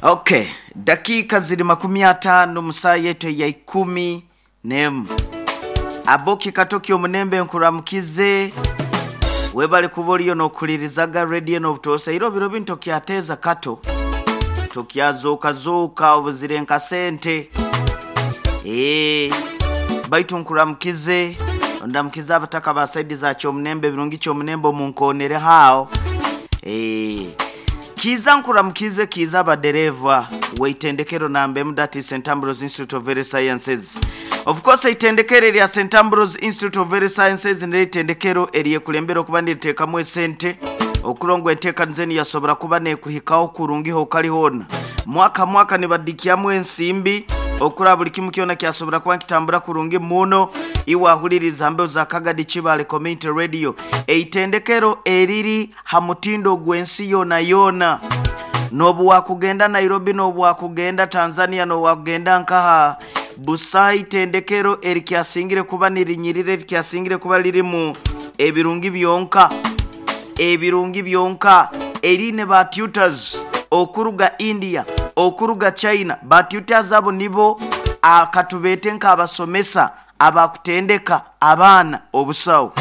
Okay, dakiika ziri 50 mu saaha yaitu eya 11. Aboki Katoki omunembe nkuramukize. Webale kuba oriyo n'okuhulirizaga rediyo n'obutoosa. Ira obiro binu tokyateeza kato. Tokyazooka-zooka obuzire nka sente. Eeh, baitu nkuramukize, ondamukize abataka ba saidi za Kyomunembe, Birungi Kyomunembe omunkonereho aho. Eeh. Kiiza nkuramukize kiiza abadereeva w'eitendekero namba emu that is St Ambrose Institute of Health Sciences. Of course eitendekero erya St Ambrose Institute of Health Sciences niryo eitendekero eryekulembera okuba niriteekamu esente okurora ngu enteekaniza enu yasobora kuba nekuhikaho kurungi hokali hoona. Mwaka mwaka nibadikyamu ensimbi okurora buli kimu kyona kyasobora kuba nikitambura kurungi muno. Iwe ahuliriza ha mbeho za Kagadi Kibaale Community Radio, eitendekero eriri Ha mutindo ogw'ensi yoonayoona. N'obu waakugenda Nairobi, n'obu waakugenda Tanzania, n'obu waakugenda nkaha, busaho itendekero erikyasingire kuba nirinyirira, erikyasingire kuba lirimu ebirungi byonka, ebirungi byonka, eriine ba tutors okuruga India, okuruga China. Ba tutors abo nibo katubeete nk'abasomesa Abakutendeka abaana obusaho.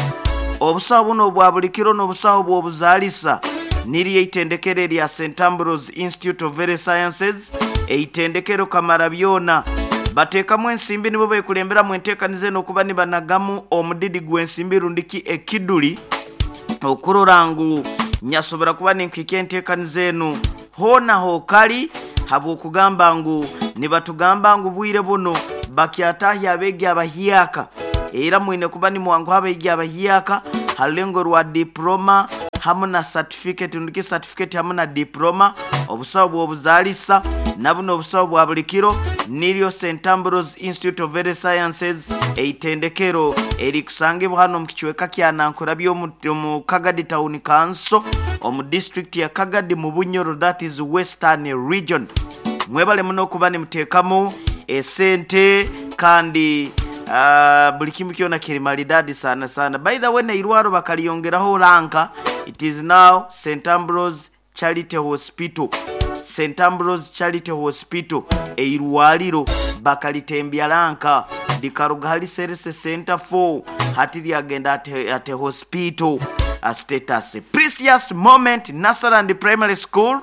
Obusaho buno obwa buli kiro n'obusaho bw'obuzaalisa niryo eitendekero erya St Ambrose Institute of Health Sciences, eitendekero kamara byona. Bateekamu ensimbi nibo bekulemberamu enteekaniza eno okuba nibanagamu omudidi gw'ensimbi rundi ki ekiduli okurora ngu nyasobora kuba ninkuhikya enteekaniza enu Hoona h'okali habw'okugamba ngu nibatugamba ngu bwire bunu bakyatahya abeegi abahyaka. Era mwine kuba nimwanguha abeegi abahyaka ha rulengo rwa dipuloma hamu na satifiketi rundi ki satifiketi hamu na dipuloma, obusaho bw'obuzaalisa na bunu obusaho bwa buli kiro. Niryo St Ambrose Institute of Health Sciences, eitendekero erikusangibwa hanu omu kicweka kya Nankurabye omu Kagadi Town Council omu disiturikiti ya Kagadi mu Bunyoro that is Western Region. Mwebale muno okuba nimuteekamu esente kandi buli kimu kyona kiri maridadi sana sana. By the way n'eirwaro bakariyongeraho ranka, it is now St Ambrose Charity Hospital, St Ambrose Charity Hospital, eirwaliro bakalitembya ranka likaruga hali Serse Centre for hati lyagenda at hospital status. Precious Moment Nursery and Primary School,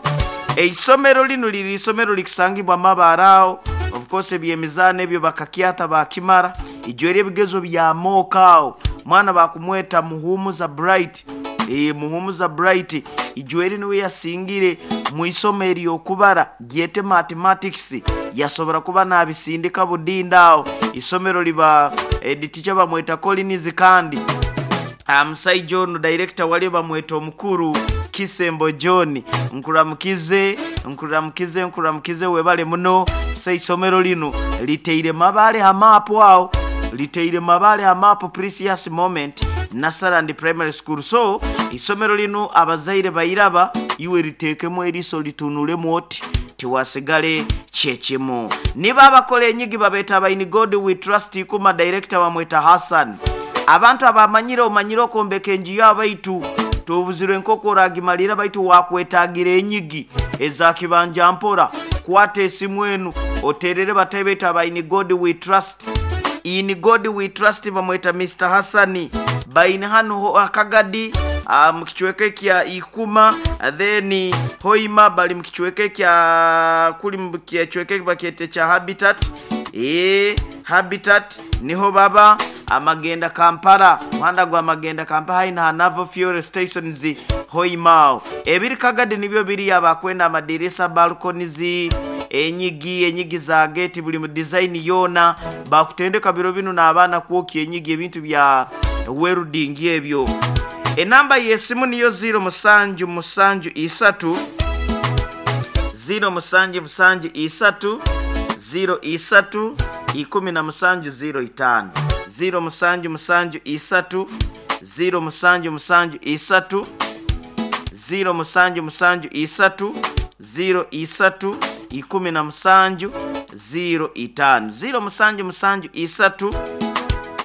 eisomero linu liri isomero likusangibwa Mabaare agho, of course eby'emizaano ebyo bakakyata baakimara, ijo eri ebigezo bya mock agho, mwana bakumweta Muhumuza Bright. Eeh Muhumuza Bright Ijweri niwe yasingire mu isomo ery'okubara gyete Mathematics yasobora kuba nabisindika budinda agho isomero liba head teacher bamweta Collins kandi musaija onu director walyo bamweta omukuru Kisembo John. Nkuramukize, nkuramukize, nkuramukize webale muno. So eisomero linu liteire Mabaale ha maapu agho, liteire Mabaale ha maapu Precious Moment. Nasarandi Primary School. So, eisomero lino abazaire bairaba iwe liteekemu eriiso litunulemu oti tiwasigale kyekimu. Nibo abakola enyigi babeeta aba In God We Trust Ikuma Director bamweta Hassan. Abantu abamanyire omanyire okwombeka enju yaawe baitu tobuzirwe nk'oku oragimalira baitu wakwetagira enyigi eza kibanja mpora. Kwata esimu enu oterere batahi baitu aba In God We Trust. In God we trust bamweta Mister Hassan baine hanu Kagadi mu kicweka ekya Ikuma then Hoima bali mu kicweka ekya kuli mu kicweka ekibakyeta ekya Habitat eeh Habitat niho baba Amagenda Kampala muhanda gwa Magenda Kampala haihi na Naval Fuel Stations Hoima agho. Ebiri Kagadi nibyo biriyo abakwenda amadirisa, balconies, Enyigi, enyigi za geeti buli mu dizaini yoona. Baakutendeka biro binu n'abaana kwokya enyigi ebintu bya welding ebyo. Enamba y'esimu niyo ziiro musanju musanju isatu, ziiro musanju musanju isatu, ziiro isatu, ikumi na musanju ziiro itaano. Ziiro musanju musanju isatu, ziiro musanju musanju isatu, ziiro musanju musanju isatu. Ziiro isatu 17 ziiro itaanu. Ziiro musanju musanju isatu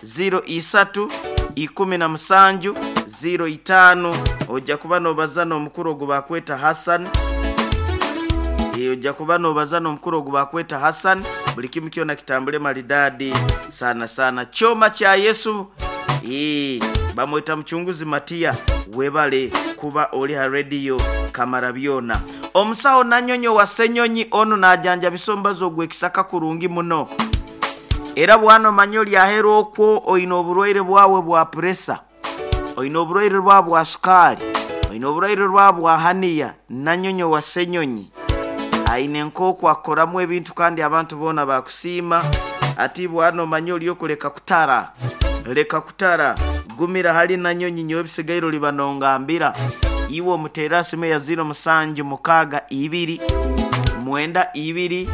ziiro isatu 17 ziiro itaanu. Oja kuba n'obaza n'omukuru ogu baakweta Hassan. Ojja kuba nobaza n'omukuru ogu bakweta Hassan, buli kimu kyona kitambule maridadi sana sana. Kyoma kya Yesu, bamweta Mucunguzi Matiya, webale kuba oli ha rediyo Kamara Byona. Omusaho Nanyonyo wa Senyonyi onu najanjabisa omubazi ogw'ekisaka kurungi muno. Era bwana omanye oli aheru okwo oine oburwaire bwawe bwa puresa, oine oburwaire bwawe bwa sukaali, oine oburwaire bwawe bwa haniya, Nanyonyo wa Senyonyi aine nk'oku akoramu ebintu kandi abantu boona bakusiima. Ati bwana omanye oli okuleka kutara, leka kutara, gumira hali Nanyonyi, nyowe ebisigaire oliba nongambira. Iwe omuteerera simu eya 0762 92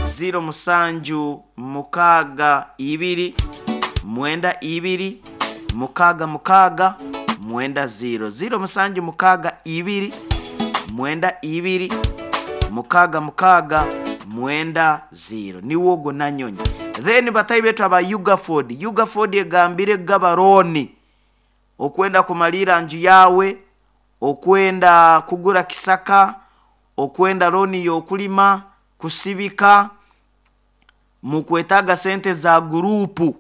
0762 92 66 90 0762 92 66 90 niwo ogwo Nanyonyi. Then batayi betu aba Ugaford, Ugaford egambire gabaroni okwenda kumalira nju yawe, okwenda kugura kisaka, okwenda loni y'okulima, kusibika, mukwetaaga sente za gurupu.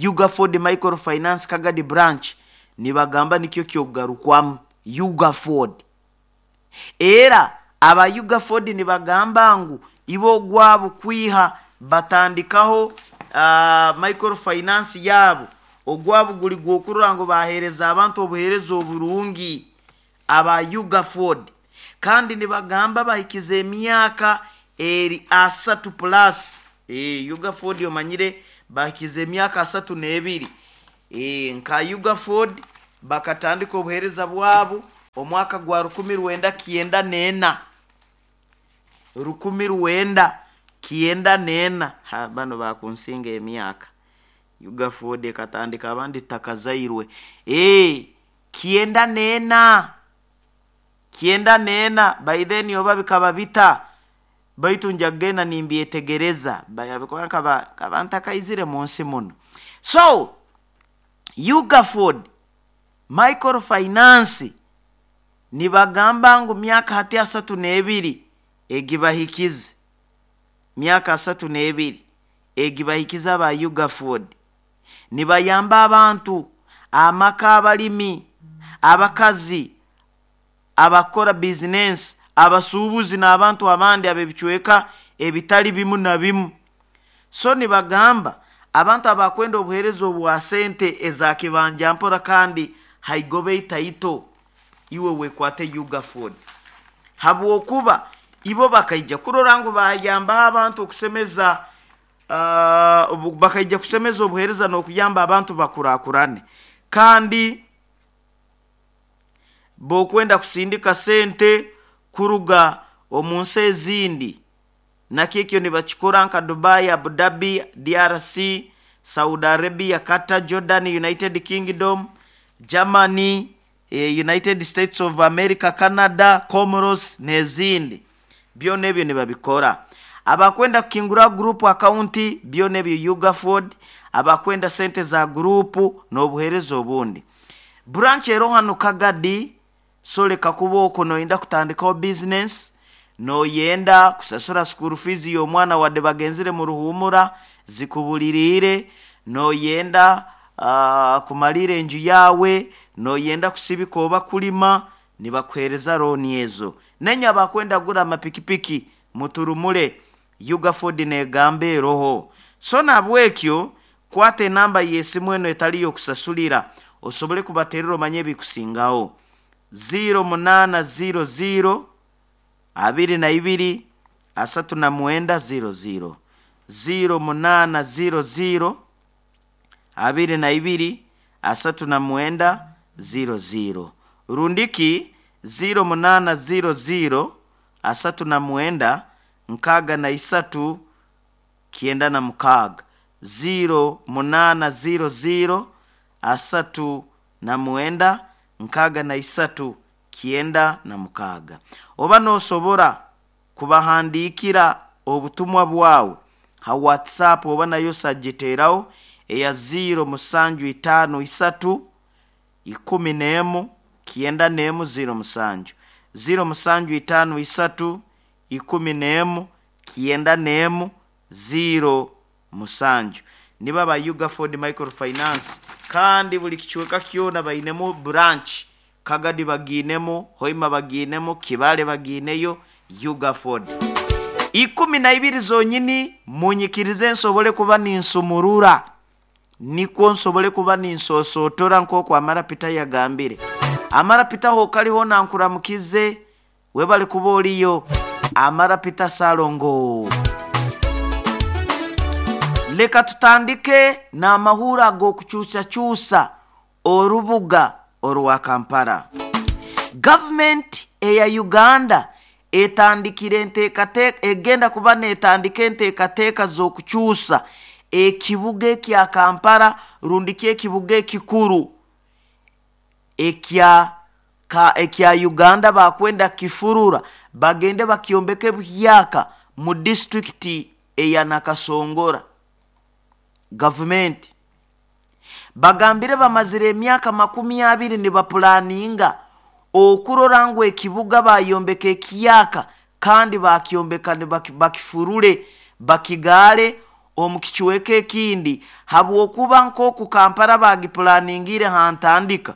Ugaford Microfinance Kagadi Branch nibagamba nikyo kyokugarukwamu Ugaford. Era aba Ugaford nibagamba ngu ibo ogwabo kwiha batandikaho microfinance yabo, ogwabo guli gwokurora ngu baheereza abantu obuheereza oburungi aba Ugaford. Kandi nibagamba bahikize emyaka eri 30 plus. Ugaford omanyire bahikize emyaka 32. Nka Ugaford bakatandika obuheereza bwabo omwaka gwa 1994. 1994. Ha, bano bakunsinga emyaka. Ugaford ekatandika abandi takazairwe. 94. 94 by then oba bikaba bita, baitu nja kugenda nimbyetegereza bikuba nkaba ntakaizire mu nsi muno. So Ugaford Microfinance nibagamba ngu myaka hati 32 egibahikize, myaka 32 egibahikize aba Ugaford. Nibayamba abantu, amaka, abalimi, abakazi, abakora bizinensi, abasuubuzi n'abantu abandi ab'ebicweka ebitali bimu na bimu. So nibagamba abantu abakwenda obuheereza obwa sente eza kibanja mpora kandi haigoba itaito, iwe wekwate Ugaford. Habwokuba ibo bakaija kurora ngu bayambaho abantu okusemeza, bakaija kusemeza obuheereza n'okuyamba abantu bakurakurane. Kandi bokwenda kusindika sente kuruga omu nsi ezindi, nakyo ekyo nibakikora nka Dubai, Abu Dhabi, DRC, Saudi Arabia, Qatar, Jordan, United Kingdom, Germany, United States of America, Canada, Comoros n'ezindi. Byona ebyo nibabikora. Abakwenda kukingura group account byona ebyo Ugaford, abakwenda sente za group n'obuheereza obundi. Branch ero hano Kagadi, so leka kuba okwo noyenda kutandikaho business, noyenda kusasura school fees y'omwana wadde bagenzire mu ruhumura zikubuliriire, noyenda kumalira enju yawe, noyenda kusibika oba kulima, nibakuheereza looni ezo. Nenye abakwenda kugura amapikipiki muturumule, Ugaford negamba eroho. So nabwekyo kwata enamba y'esimu eno etali y'okusasulira osobole kubaterera omanye ebikusingaho. 0800 22 39 00 0800 22 39 00 rundiki 0800 39 63 96 0800 39 63 96. Oba nosobora kubahandikira obutumwa bwawe ha WhatsApp oba nayo sagiteraho eya 0753 11 91 07 0753 11 91 07. Nibo aba Ugaford Microfinance, kandi buli kicweka kyona bainemu branch. Kagadi bagiinemu, Hoima bagiinemu, Kibale bagiineyo. Ugaford 12 zonyini. Munyikirize nsobole kuba ninsumurura, nikwo nsobole kuba ninsosotora nk'oku Amarapita yagambire. Amarapita hokaliho, nankuramukize, webali kuba oliyo. Amarapita Salongo, leka tutandike n'amahuro ag'okukyusakyusa orubuga orwa Kampala. Gavumenti eya Uganda etandikire enteekateeka, egenda kuba neetandika enteekateeka z'okukyusa ekibuga ekya Kampala, rundi ki ekibuga ekikuru ekya Uganda. Bakwenda kifurura bagende bakyombeke buhyaka mu disitulikiti eya Nakasongora. Gavumenti bagambire bamazire emyaka 20 nibapulaninga okurora ngu ekibuga bayombeka ekiyaka, kandi bakyombeka bakifurure bakigaale omu kicweka ekindi, habwokuba nk'oku Kampala bagipulaningire hantandika,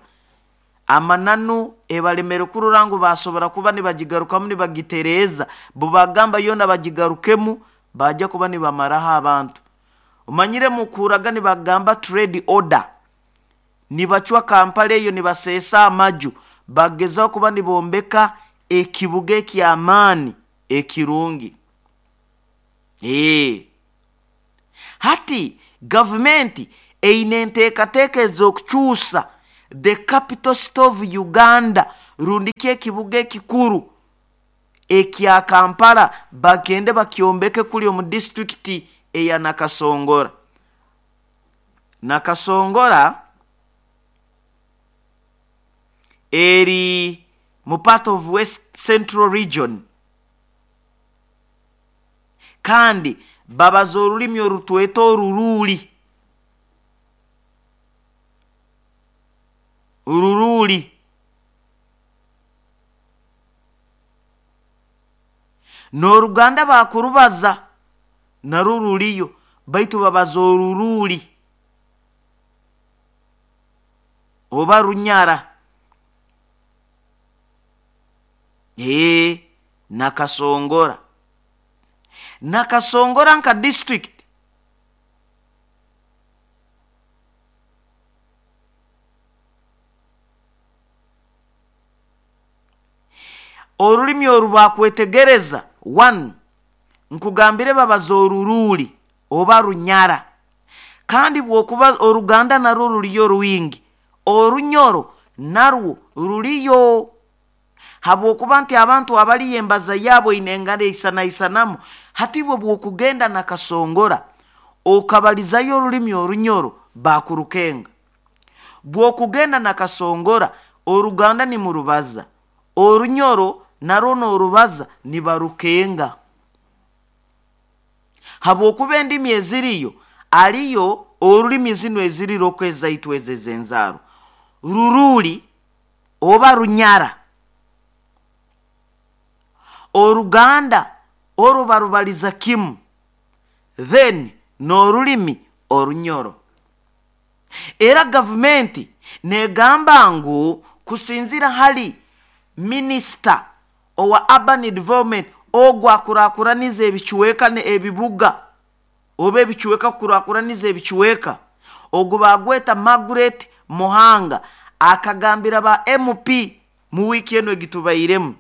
amananu ebalemere kurora ngu basobora kuba nibagigarukamu nibagitereeza. Bubagamba yoona bagigarukemu, bajja kuba nibamaraho abantu. Omanyire mukuraga nibagamba trade order, nibacwa Kampala eyo, nibaseesa amaju, bagezaho kuba nibombeka ekibuga eky'amaani ekirungi. Hati gavumenti eine enteekateeka ez'okukyusa the capital city of Uganda, rundi ki ekibuga ekikuru ekya Kampala, bagende bakyombeke kuli omu disitulikiti eya Nakasongora. Nakasongora eri mu part of West Central Region, kandi babaza orulimi orutweta oruruuli. Ururuuli n'Oruganda bakurubaza narwo ruriyo, baitu babaza oruruuli oba Runyara. Nakasongora, Nakasongora nka district orulimi oru bakwetegereza one, nkugambire babaza oruruuli oba Runyara, kandi bwokuba Oruganda narwo ruriyo rwingi, Orunyoro narwo ruriyo, habwokuba nti abantu abaliyo embaza yaabo eine engano eisanaisanamu. Hati bwe bwokugenda Nakasongora okabalizayo orulimi Orunyoro, bakurukenga. Bwokugenda Nakasongora, Oruganda nimurubaza, Orunyoro narwo n'orubaza, nibarukenga, habwokuba endimi eziriyo aliyo orulimi zinu eziriroko ezaitu ezo ez'enzaaro, Ruruuli oba Runyara, Oruganda orwo barubaliza kimu, then n'orulimi Orunyoro. Era gavumenti negamba ngu kusinzira hali minisita owa urban development, ogwo akurakuraniza ebicweka ebibuga oba ebicweka, kukurakuraniza ebicweka, ogwo bagweta Margaret Muhanga, akagambira ba MP mu wiiki eno egitubairemu,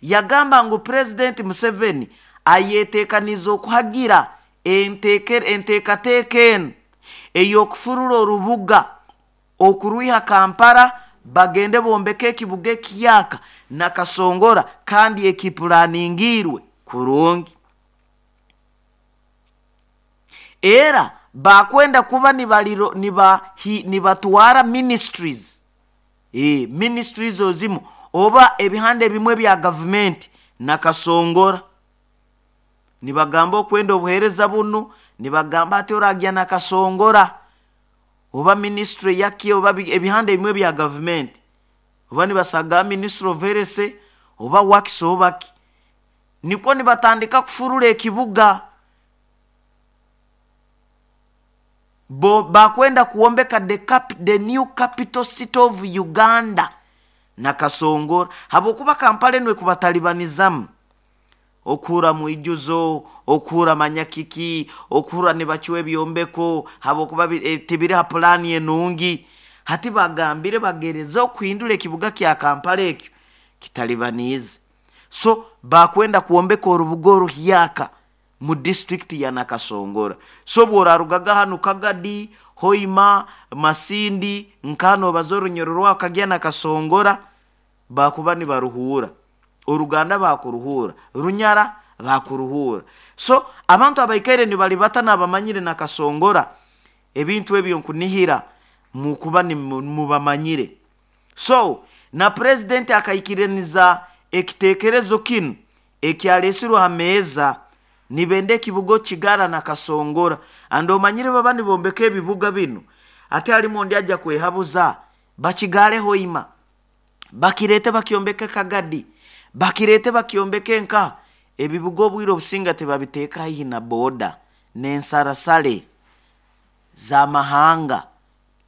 yagamba ngu Purezidenti Museveni ayeteekaniza okuhagira enteekateeka enu ey'okufurura orubuga okurwiha Kampala, bagende bombeke ekibuga ekiyaka Nakasongora, kandi ekipulaningiirwe kurungi. Era bakwenda kuba nibatwara ministries, ministries ozimu oba ebihanda ebimwe bya gavumenti Nakasongora. Nibagamba okwenda obuheereza bunu, nibagamba ati oragya Nakasongora oba ministry yaki oba ebihanda ebimwe bya gavumenti, oba nibasaga Ministry of Health oba works oba ki. Nikwo nibatandika kufurura ekibuga. Bo bakwenda kuwombeka the new capital city of Uganda Nakasongora, habwokuba Kampala enu ekubatalibanizamu okuhura mwijuzo, okuhura manyakiki, okuhura nibacwa ebyombeko habwokuba tibiri ha pulaani enungi. Hati bagambire bagereze okuhindura ekibuga kya Kampala ekyo kitalibaniize. So bakwenda kwombeka orubuga oruhyaka mu disitulikiti ya Nakasongora. So bw'orarugaga hanu Kagadi, Hoima, Masindi, nka noobaza orunyoro rwawe kagya Nakasongora, bakuba nibaruhuura. Oruganda bakuruhuura, Runyara bakuruhuura. So abantu abaikaire nibalibata n'abamanyire Nakasongora, ebintu ebyo nkunihira mukuba mubamanyire. So na purezidenti akaikiraniza ekiteekerezo kinu ekyaleesirwe ha meeza, nibenda ekibuga okukigara Nakasongora. Andi omanyire baba nibombeka ebibuga binu, ate halimu ondi aja kwehabuza, bakigaale Hoima, bakireete bakyombeke Kagadi, bakireete bakyombeke nkaha. Ebibuga obwire obusinga tibabiteeka haihi na boda n'ensarasale z'amahanga.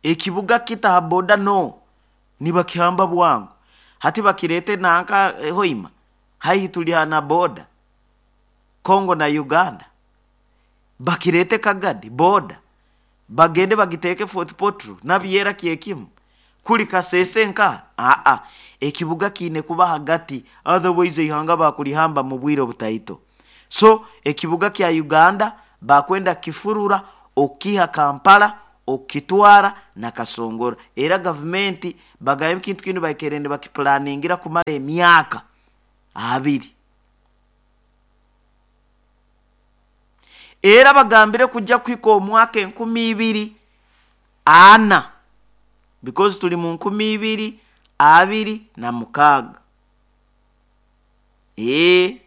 Ekibuga kita ha boda no, nibakihamba bwangu. Hati bakireete nanka Hoima, haihi tuli ha na boda Congo na Uganda. Bakireete Kagadi, boda, bagende bagiteeke Fort Portal, Nabyera kyekimu. Kuli Kasese nkaha? Aa, ekibuga kiine kuba hagati, otherwise eihanga bakulihamba mu bwire obutaito. So ekibuga kya Uganda bakwenda kukifurura okukiiha Kampala okukitwara Nakasongora. Era gavumenti bagambye ekintu kinu baikaire nibakipulaningira kumara emyaka abiri. Era bagambire kujja kuhika omwaka 2040 because tuli mu 2026. Eeh.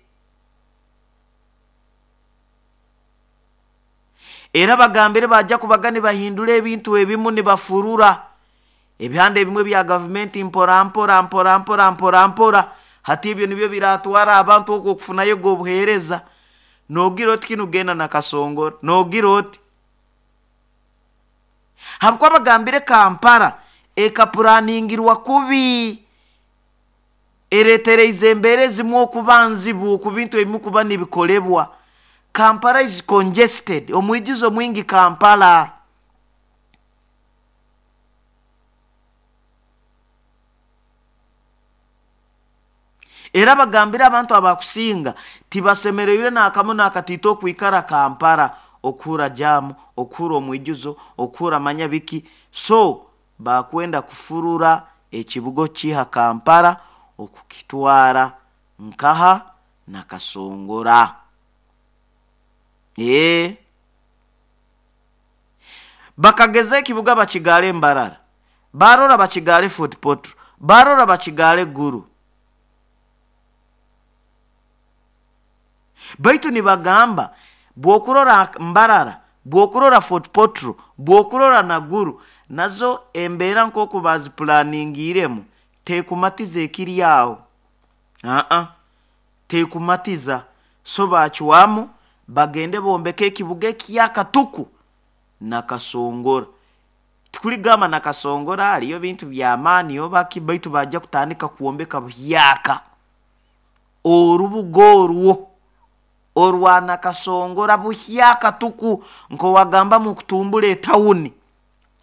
Era bagambire baija kubaga nibahindura ebintu ebimu nibafurura ebihanda ebimwe bya gavumenti mpora mpora mpora mpora mpora mpora. Hati ebyo nibyo biratwara abantu okwo okufunayo obuheereza. Noogira oti kinu genda Nakasongora, noogira oti. Habwokuba bagambire Kampala ekapuraaningirwa kubi, ereetereize embeera ezimwe okuba nzibu ku bintu ebimu kuba nibikolebwa. Kampala is congested, omwijuzo mwingi Kampala. Era bagambire abantu abakusinga tibasemereire n'akamu n'akatiito okwikara Kampala, okuhura jaamu, okuhura omwijuzo, okuhura manya biki. So bakwenda kufurura ekibuga okukiiha Kampala okukitwara nkaha? Nakasongora. Eeh. Bakageza ekibuga bakigaale Mbarara, baarora bakigaale Fort Portal, baarora bakigaale Gulu. Baitu nibagamba bw'okurora Mbarara, bw'okurora Fort Portal, bw'okurora na Gulu, nazo embeera nk'oku baazipulaningiiremu teekumatiza ekiri aho. Aa, teekumatiza. So baacwamu bagende bombeke ekibuga eky'akatuku Nakasongora. Tikuligamba Nakasongora hariyo bintu by'amaani oba ki, baitu baija kutandika kwombeka buhyaka orubuga orwo orwa Nakasongora buhyaka tuku nk'owagambamu kutumbura etawuni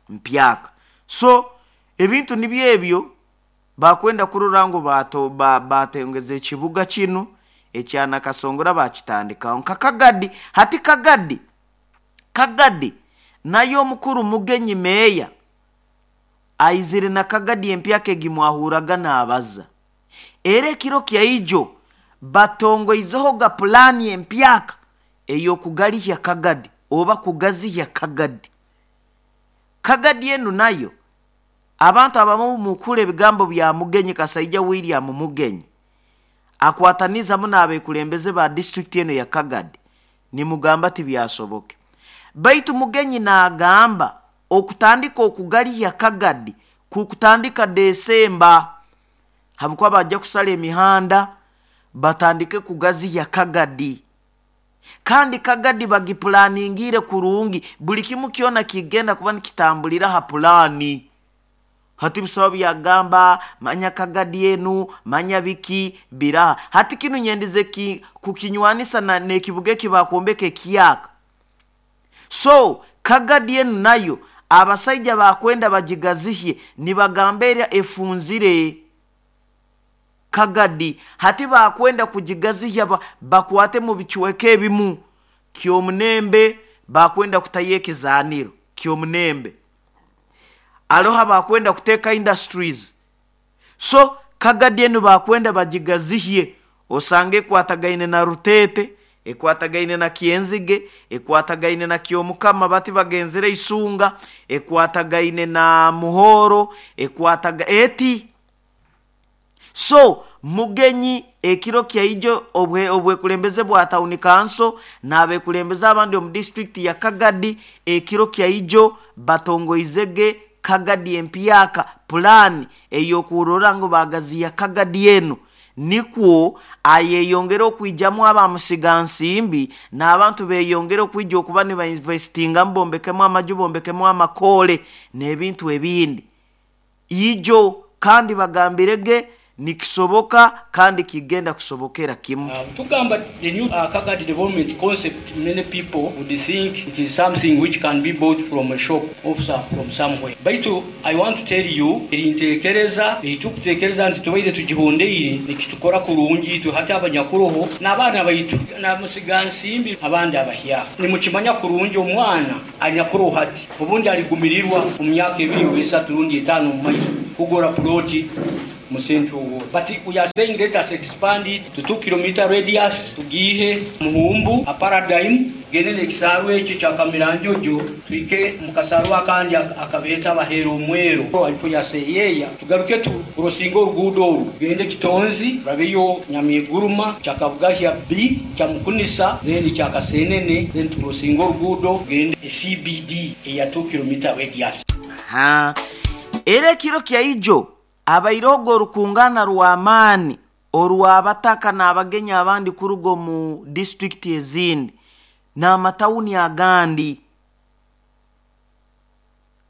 mpyaka. So ebintu nibyo ebyo bakwenda kurora ngu baatengeza ekibuga kinu ekya Nakasongora baakitandikaho nka Kagadi. Hati Kagadi, Kagadi nayo omukuru Mugenyi meeya aizire na Kagadi empyaka egi mwahurraga naabaza. Era ekiro kya ijo batongoizehoga pulaani empyaka ey'okugalihya Kagadi oba kugazihya Kagadi. Kagadi enu nayo abantu abamu mukuhurra ebigambo bya Mugenyi Kasaija William Mugenyi akwataniize hamu n'abekulembeze ba disiturikiti enu eya Kagadi nimugamba tibyasoboke. Baitu Mugenyi naagamba okutandika okugalihya Kagadi kukutandika Desemba habwokuba baija kusara emihanda, Batandike kugaziya Kagadi, kandi Kagadi bagipulaningire kurungi. Buli kimu kyona kigenda kuba nikitambulira ha pulaani. Hati bisaba byagamba manya Kagadi enu, manya biki biraha. Hati kinu nyendize kukinywanisa n'ekibuga eki bakwombeka ekiyaka. So Kagadi enu nayo abasaija bakwenda bagigazihye, nibagamba erya efunzire Kagadi. Hati bakwenda kugigazihya, bakwate mu bicweka ebimu Kyomunembe, bakwenda kutayo ekizaniro Kyomunembe, aloha bakwenda kuteeka industries. So Kagadi enu bakwenda bagigazihye, osange ekwatagaine na Rutete, ekwatagaine na Kyenzige, ekwatagaine na Kyomukama, bati bagenzere Isunga, ekwatagaine na Muhoro, ekwataga eti. So Mugenyi ekiro kyaijo obwekulembeze bwa tawuni kanso n'abekulembeze abandi omu disitulikiti ya Kagadi, ekiro kyaijo batongoizege Kagadi empyaka, pulaani ey'okurora ngu bagaziya Kagadi enu, nikwo ayeyongere okwijamu abamusigansimbi n'abantu beyongere okwija okuba nibainvestingamu, bombekemu amaju, bombekemu amakole n'ebintu ebindi ijo. Kandi bagambirege nikisoboka kandi kigenda kusobokera kimu. Tugamba the new Kagadi development concept, many people would think it is something which can be bought from a shop or from somewhere. Baitu I want to tell you, erintekereza eitukutekereza nti tubaire tugihondeire nikitukora kurungi itwe hati abanyakuroho n'abaana baitu namusigansimbi abandi abahyaka. Nimukimanya kurungi omwana anyakuroho hati obundi aligumirirwa omu myaka 2 oba 3 rundi 5 omu maiso kugura ploti mu Central Ward. But we are saying let us expand it to 2 kilometer radius, tugihe Muhumbu a paradigm, gende n'ekisaaru ekyo kya Kamiranjojo, twike mu kasaaru akandi akabeeta Abaheera Omweru alipo yaseyeeya, tugaruke tukurosinga oruguudo oru tugende Kitonzi, turabeyo Nyamiguruma, Kyakabugahya B, Kyamukunisa, then Kyakasenene, then tukurosinga oruguudo tugende CBD eya 2 kilometer radius. Ha. Era ekiro kyaijo abairogo orukungana rw'amaani orw'abataka n'abagenyi abandi kuruga omu disitulikiti ezindi n'amatawuni agandi.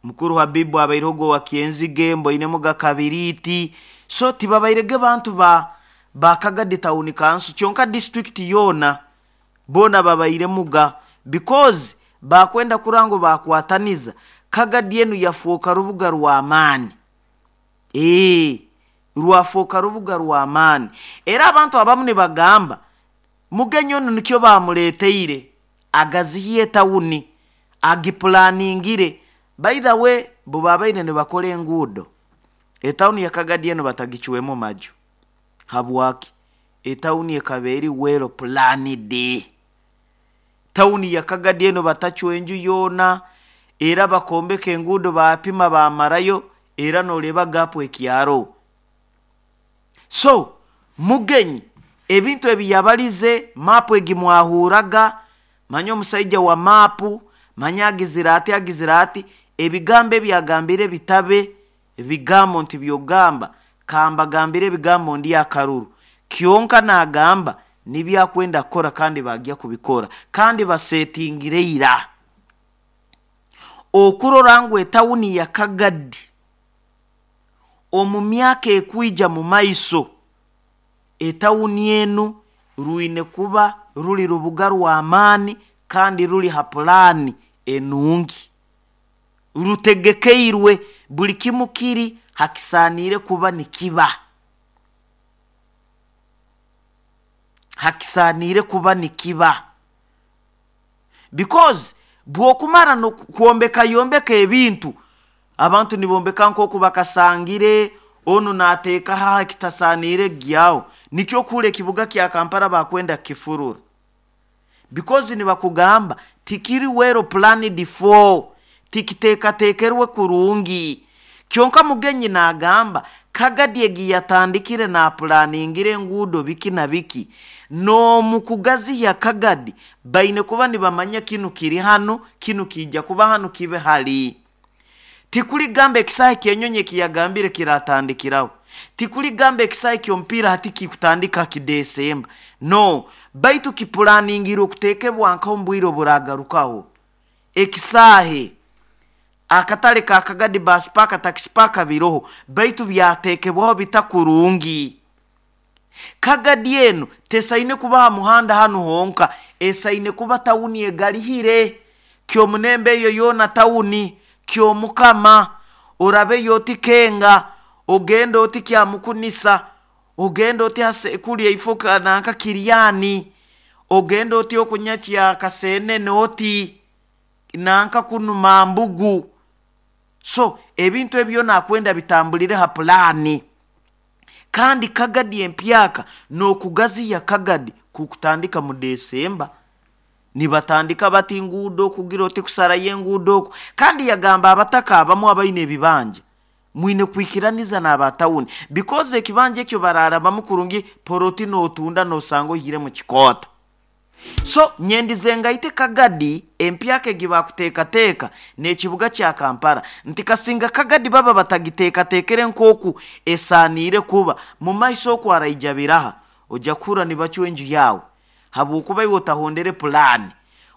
Mukuru Habibu abairogo wa Kyenzige, mboinemu Gakabiriiti. So tibabairege bantu ba Kagadi tawuni kanso kyonka, disitulikiti yoona boona babairemuga, because bakwenda kurora ngu bakwataniza Kagadi enu yafuuka rubuga rw'amaani. Rwafuuka rubuga rw'amaani. Era abantu abamu nibagamba Mugenyi onu nikyo bamuleeteire agazihiye tawuni, agipulaningire. By the way, bo babaire nibakora enguudo, etawuni ya Kagadi enu batagicwemu maju. Habwaki? Etawuni ekaba eri well planned. Tawuni ya Kagadi enu batacwa enju yoona, era bakombeka enguudo, bapima bamarayo, era noreeba gapu ekyaro. So Mugenyi ebintu ebi yabalize, maapu egi mwahuraga, manya omusaija wa maapu, manya agizire ati, agizire ati, ebigambo ebi agambire bitabe bigambo nti byogamba kambagambire ebigambo ndi akaruru. Kyonka nagamba nibyakwenda kukora kandi bagya kubikora, kandi basetingire ira okurora ngu etawuni ya Kagadi omu myaka ekwija mu maiso, etawuni enu rwine kuba ruli rubuga rw'amaani kandi ruli ha pulaani enungi, rutegekeirwe, buli kimu kiri hakisaaniire kuba nikiba, hakisaaniire kuba nikiba. Because bw'okumara kwombeka yombeka ebintu, abantu nibombeka nk'oku bakasangire, onu naateeka haha ekitasaaniire gyaho. Nikyo kuhura ekibuga kya Kampala bakwenda kukifurura, because nibakugamba tikiri well planned for, tikiteekateekerwe kurungi. Kyonka Mugenyi naagamba Kagadi egi yatandikire napulaningire enguudo biki na biki, n'omu kugaziya Kagadi baine kuba nibamanya kinu kiri hanu, kinu kiija kuba hanu, kibe hali. Tikuligamba ekisaahe ky'enyonyi ekiyagambire kiratandikiraho. Tikuligamba ekisaayi ky'omupiira hati kikutandika kidesemba, no, baitu kipulaningirwe okuteekebwa nkaho omu bwire oburagarukaho. Ekisaahe akatale ka Kagadi Bus Park, Taxi Park biroho, baitu byateekebwaho bitakurungi. Kagadi enu tesaine kuba ha muhanda hanu honka, esaine kuba tawuni egalihire. Kyomunembe eyo yoona tawuni, Kyomukama, orabeyo oti Kenga, ogende oti Kyamukunisa, ogende oti Hasekuli eifo nanka Kiryani, ogende oti okunyakya Kasenene oti nanka kunu Mambugu. So ebintu ebyo byona akwenda bitambulire ha pulaani. Kandi Kagadi empyaka n'okugaziya Kagadi kukutandika mu Desemba. Nibatandika bati nguudo kugira oti kusarayo enguudo oku. Kandi yagamba abataka abamu abaine ebibanja, mwine kwikiraniza n'aba tawuni because ekibanja ekyo bararabamu kurungi, poloti n'otunda n'osanga oihiremu kikooto. So nyendize ngaite Kagadi empyaka egi bakuteekateeka n'ekibuga kya Kampala nti kasinga Kagadi baba batagiteekateekere nk'oku esaaniire kuba, mu maiso oku araija biraha, oja kuhurra nibacwa enju yaawe habw'okuba iwe otahondere pulaani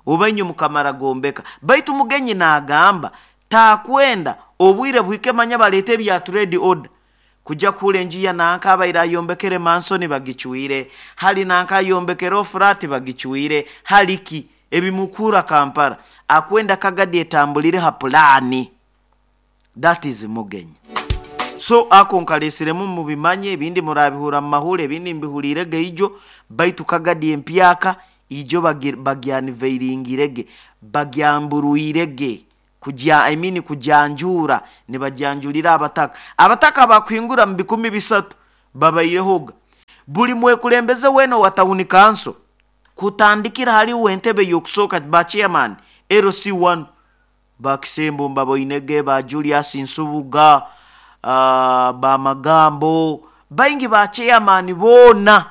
oba inywe mukamara gombeka. Baitu Mugenyi naagamba taakwenda obwire buhike manya baleete ebya trade order kuja kuhura enju ya nanka abaire ayombekere mansoni bagicwire, hali nanka ayombekere ofurati bagicwire, hali ki ebimukuhura Kampala. Akwenda Kagadi etambulire ha pulaani. That is Mugenyi. So ako nkalesiremu mubimanye, ebindi murabihura mu mahuri, ebindi mbihurirege ijo, baitu Kagadi empyaka ijo bagyaniveiringirege, bagyamburuirege, kugya, I mean kugyanjuura, nibagyanjulira abataka. Abataka abakuhingura mu 3,000 babairehoga. Buli mwekulembeze weena owa tawuni kanso, kutandikira hali uwe entebe y'okusooka ba chairman LC1, ba Kisembo mbaboinege, ba Julius Nsubuga, ba Magambo, baingi ba chairman boona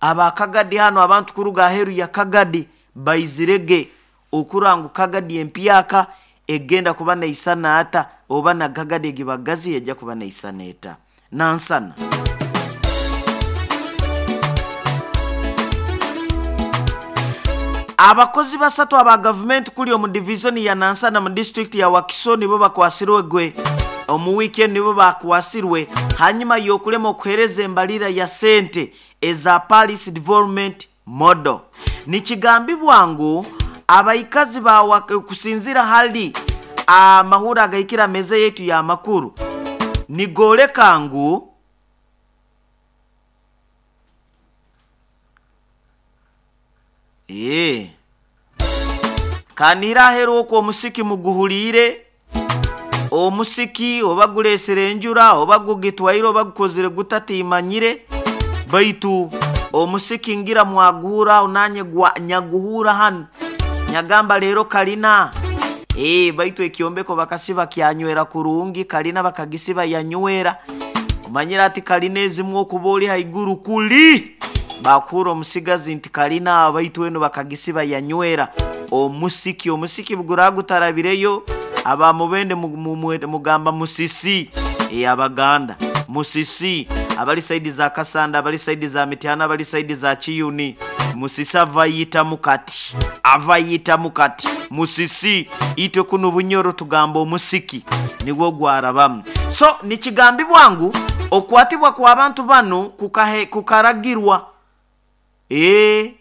aba Kagadi hanu, abantu kuruga aheeru ya Kagadi baizirege okurora ngu Kagadi empyaka egenda kuba neisana ata, oba na Kagadi egibagazi ejja kuba neisana eta. Nansana. Abakozi basatu aba gavumenti kuli omu divizoni ya Nansana mu disiturikiti ya Wakiso nibo bakwasirwe gwe omu wiiki enu nibo bakwasirwe hanyuma y'okulema okuheereza embalira ya sente eza Paris Development Model. Nikigambibwa ngu abaikazi ba kusinziira hali amahurre agahikire ameeza yaitu y'amakuru nigooleka ngu Eeh. Kanihire aheeru okwo omusiki muguhuliire, omusiki oba guleesire enjura oba gugitwaire oba gukozire guta tiimanyire, baitu omusiki ngira mwaguhurra aho naanye gwa nyaguhurra hanu nyagamba leero kalina. Eeh baitu ekyombeko bakasiba kyanywera kurungi, kalina bakagisiba yanywera. Omanyire ati kalina ezimu okuba ori haiguru kuli! Baakuhurra omusigazi nti kalina aho baitu enu bakagisiba yanywera omusiki. Omusiki buguraba gutarabireyo, aba Mubende mugamba musisi. Ee Abaganda musisi, abali saidi za Kasanda, abali saidi za Mityana, abali saidi za Kiyuni, musisi ava ayitamu kati, ava ayitamu kati. Musisi, itwe kunu Bunyoro tugamba omusiki nigwo gwarabamu. So nikigambibwa ngu okukwatibwa kw'abantu banu kukaragirwa, ee,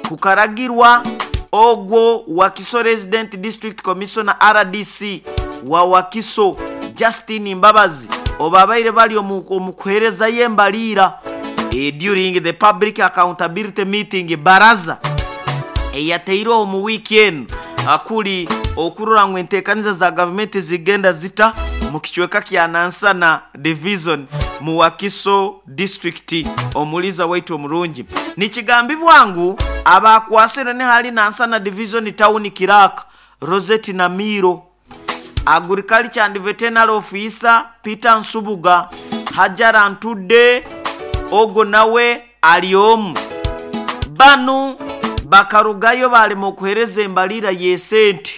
kukaragirwa ogwo Wakiso Resident District Commissioner, rdc, wa Wakiso, Justine Mbabazi obu babaire bari omu kuheerezayo embariira during the public accountability meeting, baraza, eyateirweho omu wiiki enu kuri okurora ngu enteekaniza za gavumenti zigenda zita mu kicweka kya Nansana Division mu Wakiso District. Omuliiza waitu omurungi, nikigambibwa ngu abaakwasirwe ni hali Nansana Division Town Clerk Rosette Namiiro, Agriculture and Veterinary Officer Peter Nsubuga, Hajara Ntudde ogwo nawe ali omu. Banu bakarugayo baalema okuheereza embalira y'esente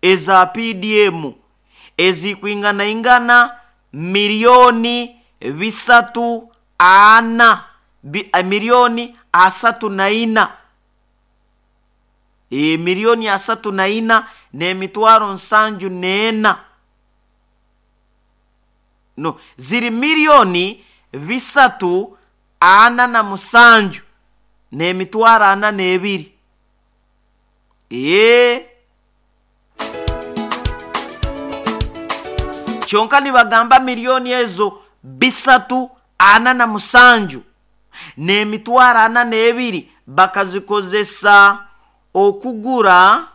eza PDM ezikwinganaingana milioni. bisatu ana miliyoni 34, miliyoni 34 n'emitwaro 74. No, ziri miliyoni 347 n'emitwaro 42. Ee, kyonka nibagamba miliyoni ezo 347 n'emitwaro 42 bakazikozesa okugura